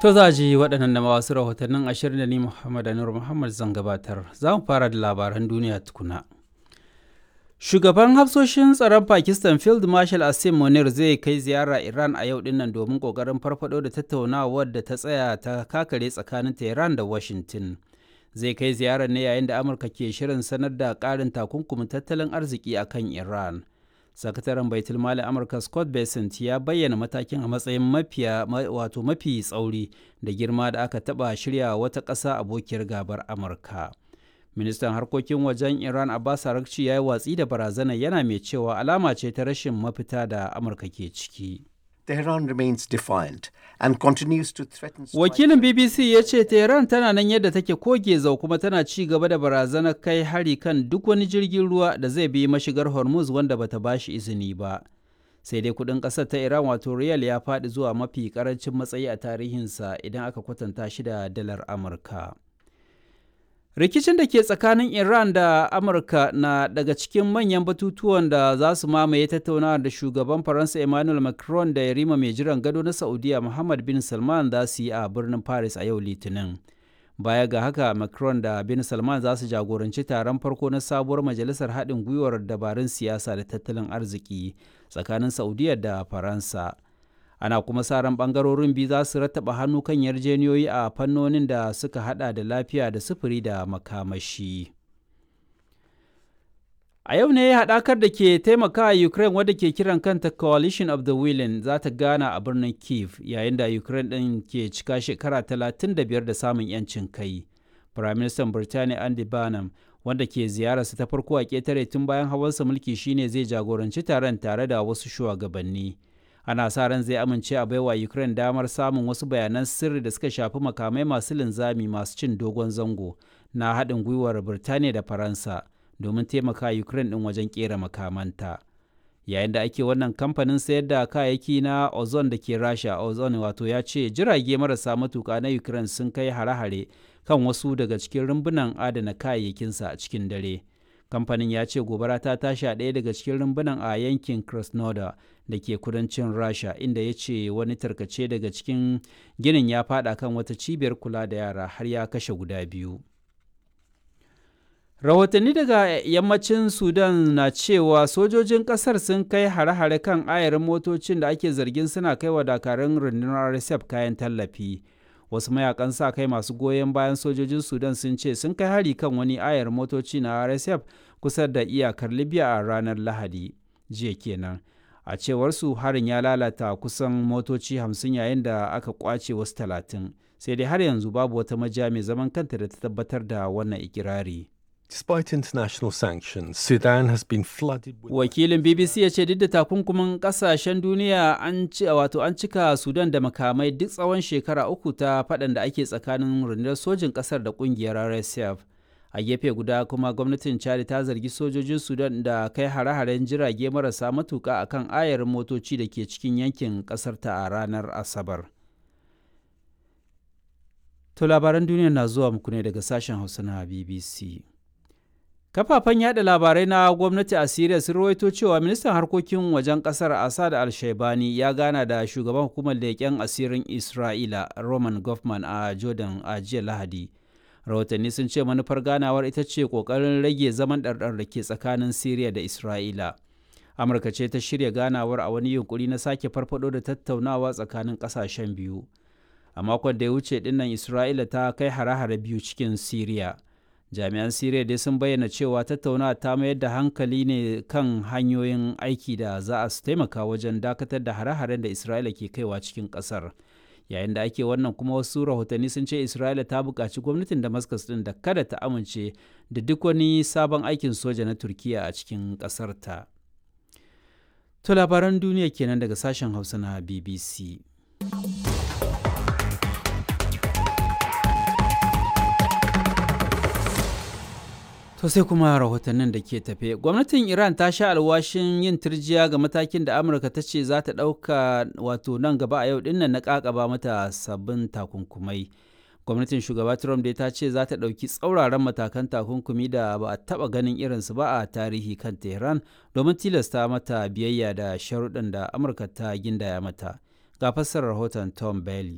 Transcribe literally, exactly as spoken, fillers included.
To za ji waɗannan da wasu rahotannin ashirin da ni Muhammad Anur Muhammad zan gabatar. Za mu fara da labaran duniya tukuna. Shugaban hafsoshin tsaron Pakistan Field Marshal Asim Munir zai kai ziyara Iran a yau dinnan domin kokarin farfado da tattaunawar da ta tsaya ta kakare tsakanin Tehran da Washington. Zai kai ziyarar ne yayin da Amurka ke shirin sanar da ƙarin takunkumin tattalin arziki akan Iran. Sakataren Baitul Mali Amurka Scott Bessent ya bayyana matakin a matsayin mafiya wato mafi tsauri da girma da aka taɓa shirya wata ƙasa abokiyar gabar Amurka. Ministan harkokin wajen Iran Abbas Araghchi ya yi watsi da barazanar yana mai cewa alama ce ta rashin mafita da Amurka ke ciki. Tehran remains defiant and continues to threaten Wakilin B B C ya ce Tehran tana nan yadda take koge zau kuma tana ci gaba da barazanar kai hari kan duk wani jirgin ruwa da zai bi mashigar Hormuz wanda bata bashi izini ba. Sai dai kudin kasar ta Iran wato riyal ya faɗi zuwa mafi karancin matsayi a tarihinsa idan aka kwatanta shi da dalar Amurka. Rikicin da ke tsakanin Iran da Amurka na daga cikin manyan batutuwan da za su mamaye tattaunawa da shugaban Faransa Emmanuel Macron da yarima mai jiran gado na Saudiya Muhammad bin Salman za su yi a birnin Paris a yau Litinin. Baya ga haka, Macron da bin Salman za su jagoranci taron farko na sabuwar majalisar haɗin gwiwar dabarun siyasa da tattalin arziki tsakanin Saudiya da Faransa. Ana kuma sa ran bangarorin biyu za su rattaba hannu kan yarjeniyoyi a fannonin da suka hada da lafiya da sufuri da makamashi. A yau ne haɗakar da ke taimaka a Ukraine wadda ke kiran kanta Coalition of the Willing za ta gana a birnin Kiev yayin da Ukraine ɗin ke cika shekara talatin da biyar da samun 'yancin kai. Firaministan Birtaniya Andy Burnham, wanda ke ziyararsa ta farko a ƙetare tun bayan hawansa mulki, shine zai jagoranci taron tare da wasu shugabanni. Ana sa ran zai amince a baiwa Ukraine damar samun wasu bayanan sirri da suka shafi makamai masu linzami masu cin dogon zango na haɗin gwiwar Birtaniya da Faransa domin taimaka Ukraine ɗin wajen ƙera makamanta. Yayin da ake wannan, kamfanin sayar da kayayyaki na Ozon da ke Rasha, Ozon wato, ya ce jirage marasa matuka na Ukraine sun kai hare-hare kan wasu daga cikin rumbunan adana kayayyakinsa a cikin dare. Kamfanin ya ce gobara ta tashi a ɗaya daga cikin rumbunan a yankin Krasnodar da ke kudancin Rasha, inda ya ce wani tarkace daga cikin ginin ya fada kan wata cibiyar kula da yara har ya kashe guda biyu. Rahotanni daga yammacin Sudan na cewa sojojin kasar sun kai hare-hare kan ayarin motocin da ake zargin suna kai wa dakarun rundunar R S F kayan tallafi. Wasu mayakan sa kai masu goyon bayan sojojin Sudan sun ce sun kai hari kan wani ayar motoci na R S F kusa da iyakar Libya a ranar Lahadi, jiya kenan. A cewar su, harin ya lalata kusan motoci hamsin yayin da aka kwace wasu talatin. Sai dai har yanzu babu wata majiya mai zaman kanta da ta tabbatar da wannan ikirari. Despite international sanctions, Sudan has been flooded with Wakilin B B C ya ce duk da takunkumin kasashen duniya, an ci wato an cika Sudan da makamai duk tsawon shekara uku ta faɗan da ake tsakanin rundunar sojin ƙasar da ƙungiyar R S F. A gefe guda kuma, gwamnatin Chad ta zargi sojojin Sudan da kai hare-haren jirage marasa matuƙa akan ayarin motoci da ke cikin yankin ƙasar ta a ranar Asabar. To labaran duniya na zuwa muku ne daga sashen Hausa na B B C. Kafafen yada labarai na gwamnati a Siriya sun rawaito cewa ministan harkokin wajen kasar Assad al-Shaibani ya gana da shugaban hukumar leƙen asirin Isra'ila Roman Goffman a Jordan a jiya Lahadi. Rahotanni sun ce manufar ganawar ita ce ƙoƙarin rage zaman ɗarɗar da ke tsakanin Siriya da Isra'ila. Amurka ce ta shirya ganawar a wani yunkuri na sake farfado da tattaunawa tsakanin ƙasashen biyu. A makon da ya wuce dinnan Isra'ila ta kai hare-hare biyu cikin Siriya. Jami'an Siriya dai sun bayyana cewa tattaunawa ta mayar da hankali ne kan hanyoyin aiki da za a su taimaka wajen dakatar da hare-haren da Isra'ila ke kaiwa cikin kasar. Yayin da ake wannan kuma, wasu rahotanni sun ce Isra'ila ta buƙaci gwamnatin Damascus din da kada ta amince da duk wani sabon aikin soja na Turkiya a cikin ƙasar ta. To labaran duniya kenan daga sashen Hausa na B B C. To sai kuma rahotannin da ke tafe. Gwamnatin Iran ta sha alwashin yin turjiya ga matakin da Amurka ta ce za ta ɗauka wato nan gaba a yau dinnan na ƙaƙaba mata sabbin takunkumai. Gwamnatin shugaba Trump dai ta ce za ta ɗauki tsauraran matakan takunkumi da ba a taɓa ganin irinsu ba a tarihi kan Tehran domin tilasta mata biyayya da sharuɗan da Amurka ta gindaya mata. Ga fassarar rahoton Tom Bailey.